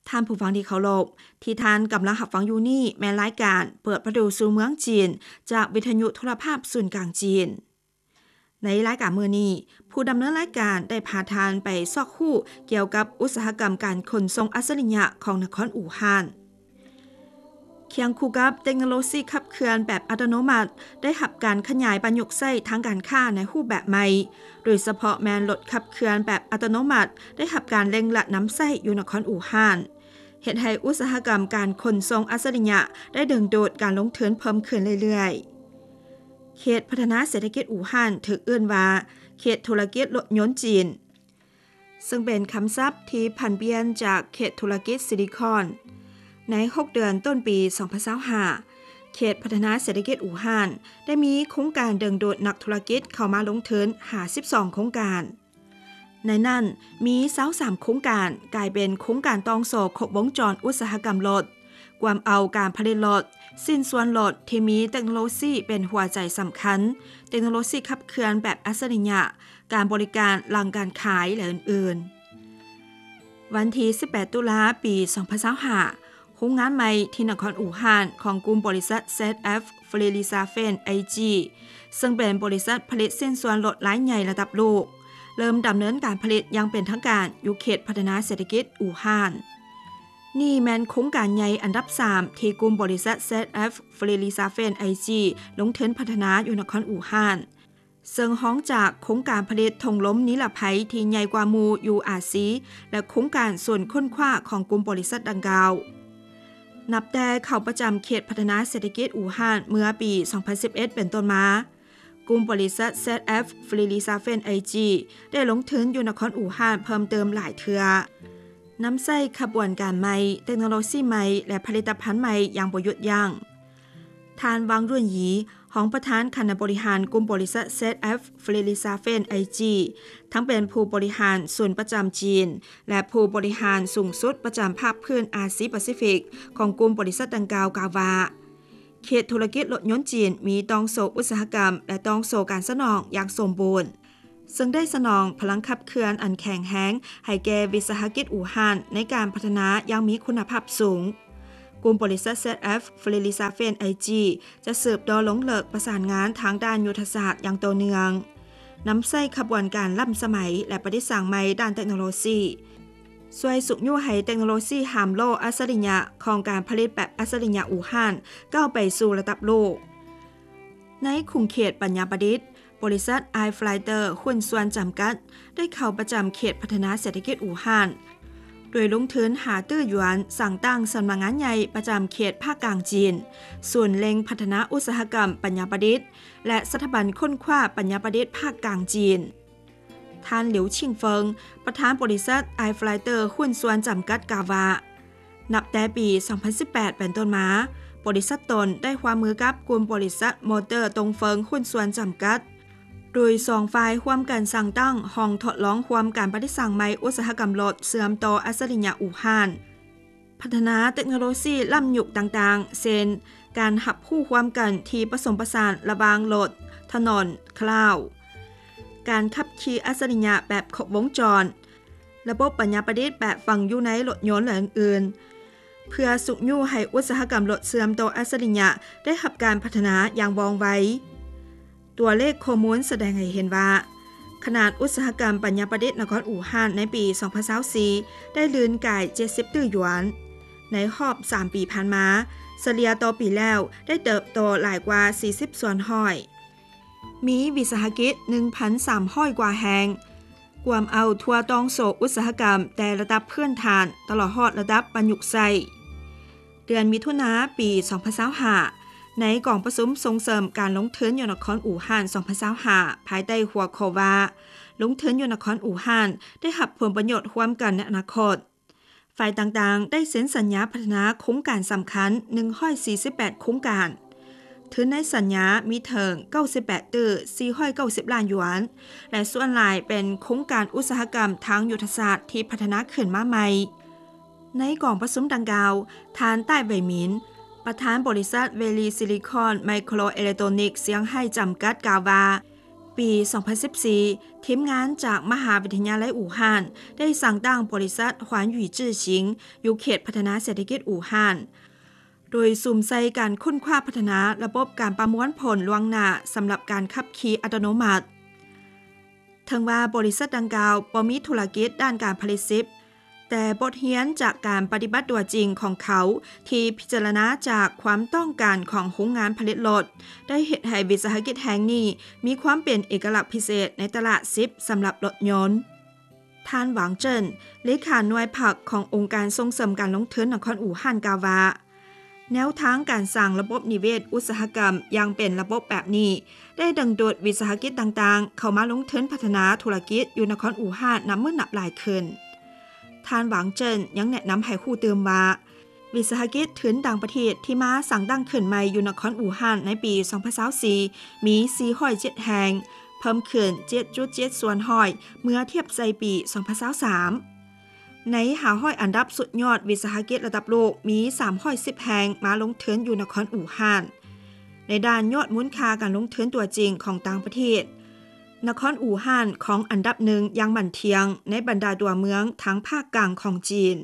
ທ່ານຜູ້ຟັງທີ່ເຄົາລົບ, ທີ່ທ່ານກຳລັງຮັບຟັງຢູ່ນີ້ແມ່ນລາຍການເປີດປະຕູສູ່ເມືອງຈີນ ຈາກວິທະຍຸໂທລະພາບສູນກາງຈີນ. ໃນລາຍການມື້ນີ້, ຜູ້ດຳເນີນລາຍການໄດ້ພາທ່ານໄປຊອກຮູ້ກ່ຽວກັບອຸດສາຫະກຳການຂົນສົ່ງອັດສະລິຍະຂອງນະຄອນອູ່ຮານ. ຄຽງຄູ່ກັບເຕັກໂນໂລຊີຂັບເຄື່ອນແບບອັດຕະໂນມັດ ໄດ້ຮັບການຂະຫຍາຍປະຍຸກໃຊ້ທາງການຄ້າໃນຮູບແບບໃໝ່, ໂດຍສະເພາະແມ່ນລົດຂັບເຄື່ອນແບບອັດຕະໂນມັດ ໄດ້ຮັບການເລັ່ງລັດນຳໃຊ້ຢູ່ນະຄອນອູ່ຮານ, ເຮັດໃຫ້ອຸດສາຫະກຳການຂົນສົ່ງອັດສະລິຍະໄດ້ດຶງດູດການລົງທຶນເພີ່ມຂຶ້ນເລື້ອຍໆ. ເຂດພັດທະນາເສດຖະກິດອູ່ຮານ ຖືກເອີ້ນວ່າເຂດທຸລະກິດລົດຍົນຈີນ, ເຊິ່ງເປັນຄຳສັບທີ່ຜັນປ່ຽນຈາກເຂດທຸລະກິດຊິລິຄອນ. ໃນຫົກເດືອນຕົ້ນປີສອງພັນຊາວຫ້າ ເຂດພັດທະນາເສດຖະກິດອູ່ຮານ ໄດ້ມີໂຄງການດຶງດູດນັກທຸລະກິດເຂົ້າມາລົງທຶນຫ້າສິບສອງໂຄງການ. ໃນນັ້ນມີຊາວສາມໂຄງການກາຍເປັນໂຄງການຕ່ອງໂສ້ຄົບວົງຈອນອຸດສາຫະກຳລົດ, ກວມເອົາການຜະລິດລົດ, ຊິ້ນສ່ວນລົດທີ່ມີເຕັກໂນໂລຊີເປັນຫົວໃຈສຳຄັນ, ເຕັກໂນໂລຊີຂັບເຄື່ອນແບບອັດສະລິຍະ, ການບໍລິການຫຼັງການຂາຍ ແລະ ອື່ນໆ. ວັນທີສິບແປດ ຕຸລາ ປີສອງພັນຊາວຫ້າ ໂຮງງານໃໝ່ທີ່ນະຄອນອູ່ຮານຂອງກຸ່ມບໍລິສັດ ແຊັດແອັຟ ຟຣີດຣິຊາເຟນ ໄອຈີ ເຊິ່ງເປັນບໍລິສັດຜະລິດຊິ້ນສ່ວນລົດລາຍໃຫຍ່ລະດັບໂລກ ເລີ່ມດຳເນີນການຜະລິດຢ່າງເປັນທາງການຢູ່ເຂດພັດທະນາເສດຖະກິດອູ່ຮານ. ນີ້ແມ່ນໂຄງການໃຫຍ່ອັນດັບສາມທີ່ກຸ່ມບໍລິສັດ ແຊັດແອັຟ ຟຣີດຣິຊາເຟນ ໄອຈີ ລົງທຶນພັດທະນາຢູ່ນະຄອນອູ່ຮານ, ເຊິ່ງຮອງຈາກໂຄງການຜະລິດຖົງລົມນິລະໄພທີ່ໃຫຍ່ກວ່າໝູ່ຢູ່ອາຊີ ແລະ ໂຄງການສູນຄົ້ນຄວ້າຂອງກຸ່ມບໍລິສັດດັ່ງກ່າວ. ນັບແຕ່ເຂົ້າປະຈຳເຂດພັດທະນາເສດຖະກິດອູ່ຮານເມື່ອປີສອງພັນສິບເອັດເປັນຕົ້ນມາ, ກຸ່ມບໍລິສັດ ແຊັດແອັຟ ຟຣີດຣິຊາເຟນ ໄອຈີ ໄດ້ລົງທຶນຢູ່ນະຄອນອູ່ຮານເພີ່ມເຕີມຫຼາຍເທື່ອ, ນຳໃຊ້ຂະບວນການໃໝ່, ເຕັກໂນໂລຊີໃໝ່ ແລະ ຜະລິດຕະພັນໃໝ່ຢ່າງບໍ່ຢຸດຢັ້ງ. ທ່ານ ວັງ ຣວນຢີ ຮອງປະທານຄະນະບໍລິຫານກຸ່ມບໍລິສັດ ແຊັດແອັຟ ຟຣີດຣິຊາເຟນ ໄອຈີ ທັງເປັນຜູ້ບໍລິຫານສູນປະຈຳຈີນ ແລະ ຜູ້ບໍລິຫານສູງສຸດປະຈຳພາກພື້ນອາຊີປາຊີຟິກຂອງກຸ່ມບໍລິສັດດັ່ງກ່າວ ກ່າວວ່າ ເຂດທຸລະກິດລົດຍົນຈີນມີຕ່ອງໂສ້ອຸດສາຫະກຳ ແລະ ຕ່ອງໂສ້ການສະໜອງຢ່າງສົມບູນ, ເຊິ່ງໄດ້ສະໜອງພະລັງຂັບເຄື່ອນອັນແຂງແຮງໃຫ້ແກ່ວິສາຫະກິດອູ່ຮານໃນການພັດທະນາຢ່າງມີຄຸນນະພາບສູງ. ກຸ່ມບໍລິສັດ ແຊັດແອັຟ ຟຣີດຣິຊາເຟນ ໄອຈີ ຈະສືບຕໍ່ລົງເລິກປະສານງານທາງດ້ານຍຸດທະສາດຢ່າງຕໍ່ເນື່ອງ, ນຳໃຊ້ຂະບວນການລ້ຳສະໄໝ ແລະ ປະດິດສ້າງໃໝ່ດ້ານເຕັກໂນໂລຊີ, ຊ່ວຍຊຸກຍູ້ໃຫ້ເຕັກໂນໂລຊີຫາມລໍ້ອັດສະລິຍະຂອງການຜະລິດແບບອັດສະລິຍະອູ່ຮານກ້າວໄປສູ່ລະດັບໂລກ. ໃນຂົງເຂດປັນຍາປະດິດ, ບໍລິສັດ ໄອຟລາຍເຕີ ຫຸ້ນສ່ວນຈຳກັດ ໄດ້ເຂົ້າປະຈຳເຂດພັດທະນາເສດຖະກິດອູ່ຮານ ໂດຍລົງທຶນຫ້າຕື້ຢວນ, ສ້າງຕັ້ງສຳນັກງານໃຫຍ່ປະຈຳເຂດພາກກາງຈີນ, ສູນເລັ່ງພັດທະນາອຸດສາຫະກຳປັນຍາປະດິດ ແລະ ສະຖາບັນຄົ້ນຄວ້າປັນຍາປະດິດພາກກາງຈີນ. ທ່ານ ຫຼິວ ຊິງເຟິງ ປະທານບໍລິສັດ ໄອຟລາຍເຕີ ຫຸ້ນສ່ວນຈຳກັດ ກ່າວວ່າ ນັບແຕ່ປີສອງພັນສິບແປດເປັນຕົ້ນມາ, ບໍລິສັດຕົນໄດ້ຮ່ວມມືກັບກຸ່ມບໍລິສັດ ມໍເຕີ ຕົງເຟິງ ຫຸ້ນສ່ວນຈຳກັດ, ໂດຍສອງຝ່າຍຮ່ວມກັນສ້າງຕັ້ງຫ້ອງທົດລອງຮ່ວມການປະດິດສ້າງໃໝ່ອຸດສາຫະກຳລົດເຊື່ອມຕໍ່ອັດສະລິຍະອູ່ຮານ, ພັດທະນາເຕັກໂນໂລຊີລ້ຳຍຸກຕ່າງໆ ເຊັ່ນ ການຮັບຮູ້ຮ່ວມກັນທີ່ປະສົມປະສານລະຫວ່າງລົດ, ຖະໜົນ, ຄລາວ, ການຂັບຂີ່ອັດສະລິຍະແບບຄົບວົງຈອນ, ລະບົບປັນຍາປະດິດແບບຝັງຢູ່ໃນລົດຍົນ ແລະ ອື່ນໆ, ເພື່ອຊຸກຍູ້ໃຫ້ອຸດສາຫະກຳລົດເຊື່ອມຕໍ່ອັດສະລິຍະໄດ້ຮັບການພັດທະນາຢ່າງວ່ອງໄວ. ຕົວເລກຂໍ້ມູນສະແດງໃຫ້ເຫັນວ່າ ຂະໜາດອຸດສາຫະກຳປັນຍາປະດິດນະຄອນອູ່ຮານໃນປີສອງພັນຊາວສີ່ ໄດ້ລື່ນກາຍເຈັດສິບຕື້ຢວນ. ໃນຮອບສາມປີຜ່ານມາ, ສະເລ່ຍຕໍ່ປີແລ້ວໄດ້ເຕີບໂຕຫຼາຍກວ່າສີ່ສິບສ່ວນຮ້ອຍ. ມີວິສາຫະກິດໜຶ່ງພັນສາມຮ້ອຍກວ່າແຫ່ງ, ກວມເອົາທົ່ວຕ່ອງໂສ້ອຸດສາຫະກຳແຕ່ລະດັບພື້ນຖານຕະຫຼອດຮອດລະດັບປະຍຸກໃຊ້. ເດືອນມິຖຸນາປີສອງພັນຊາວຫ້າ ໃນກອງປະຊຸມສົ່ງເສີມການລົງທຶນຢູ່ນະຄອນອູ່ຮານສອງພັນຊາວຫ້າ ພາຍໃຕ້ຫົວຂໍ້ວ່າ ລົງທຶນຢູ່ນະຄອນອູ່ຮານໄດ້ຮັບຜົນປະໂຫຍດຮ່ວມກັນໃນອະນາຄົດ, ຝ່າຍຕ່າງໆໄດ້ເຊັນສັນຍາພັດທະນາໂຄງການສຳຄັນໜຶ່ງຮ້ອຍສີ່ສິບແປດໂຄງການ. ທຶນໃນສັນຍາມີເຖິງເກົ້າສິບແປດຕື້ສີ່ຮ້ອຍເກົ້າສິບລ້ານຢວນ ແລະ ສ່ວນຫຼາຍເປັນໂຄງການອຸດສາຫະກຳທາງຍຸດທະສາດທີ່ພັດທະນາຂຶ້ນມາໃໝ່. ໃນກອງປະຊຸມດັ່ງກ່າວ, ທ່ານ ຕ້າຍ ໄວໝິນ ປະທານບໍລິສັດ ເວລີ ຊິລິຄອນ ໄມໂຄຣ ເອເລັກໂຕຣນິກ ຊຽງໄຮ້ ຈຳກັດ ກ່າວວ່າ ປີສອງພັນສິບສີ່ ທີມງານຈາກມະຫາວິທະຍາໄລອູ່ຮານ ໄດ້ສ້າງຕັ້ງບໍລິສັດ ຫວານຫວີຈື່ຊິງ ຢູ່ເຂດພັດທະນາເສດຖະກິດອູ່ຮານ ໂດຍສຸມໃສ່ການຄົ້ນຄວ້າພັດທະນາລະບົບການປະມວນຜົນລ່ວງໜ້າສຳລັບການຂັບຂີ່ອັດຕະໂນມັດ. ເຖິງວ່າບໍລິສັດດັ່ງກ່າວບໍ່ມີທຸລະກິດດ້ານການຜະລິດຊິບ, ແຕ່ບົດຮຽນຈາກການປະຕິບັດຕົວຈິງຂອງເຂົາ ທີ່ພິຈາລະນາຈາກຄວາມຕ້ອງການຂອງໂຮງງານຜະລິດລົດ ໄດ້ເຮັດໃຫ້ວິສາຫະກິດແຫ່ງນີ້ມີຄວາມເປັນເອກະລັກພິເສດໃນຕະຫຼາດຊິບສຳລັບລົດຍົນ. ທ່ານ ຫວັງເຈິນ ເລຂາໜ່ວຍພັກຂອງອົງການສົ່ງເສີມການລົງທຶນນະຄອນອູ່ຮານ ກ່າວວ່າ ແນວທາງການສ້າງລະບົບນິເວດອຸດສາຫະກຳຢ່າງເປັນລະບົບແບບນີ້ ໄດ້ດຶງດູດວິສາຫະກິດຕ່າງໆ ເຂົ້າມາລົງທຶນພັດທະນາທຸລະກິດຢູ່ນະຄອນອູ່ຮານນັບມື້ນັບຫຼາຍຂຶ້ນ. ທ່ານ ຫວັງເຈິນ ຍັງແນະນຳໃຫ້ຮູ້ຕື່ມວ່າ ວິສາຫະກິດທຶນຕ່າງປະເທດທີ່ມາສ້າງຕັ້ງຂຶ້ນໃໝ່ຢູ່ນະຄອນອູ່ຮານໃນປີສອງພັນຊາວສີ່ ມີສີ່ຮ້ອຍເຈັດແຫ່ງ, ເພີ່ມຂຶ້ນເຈັດຈຸດເຈັດສ່ວນຮ້ອຍເມື່ອທຽບໃສ່ປີສອງພັນຊາວສາມ. ໃນຫ້າຮ້ອຍອັນດັບສຸດຍອດວິສາຫະກິດລະດັບໂລກ ມີສາມຮ້ອຍສິບແຫ່ງມາລົງທຶນຢູ່ນະຄອນອູ່ຮານ. ໃນດ້ານຍອດມູນຄ່າການລົງທຶນຕົວຈິງຂອງຕ່າງປະເທດ, ນະຄອນອູ່ຮານຄອງອັນດັບໜຶ່ງຢ່າງໝັ້ນທ່ຽງໃນບັນດາຕົວເມືອງທາງພາກກາງຂອງຈີນ.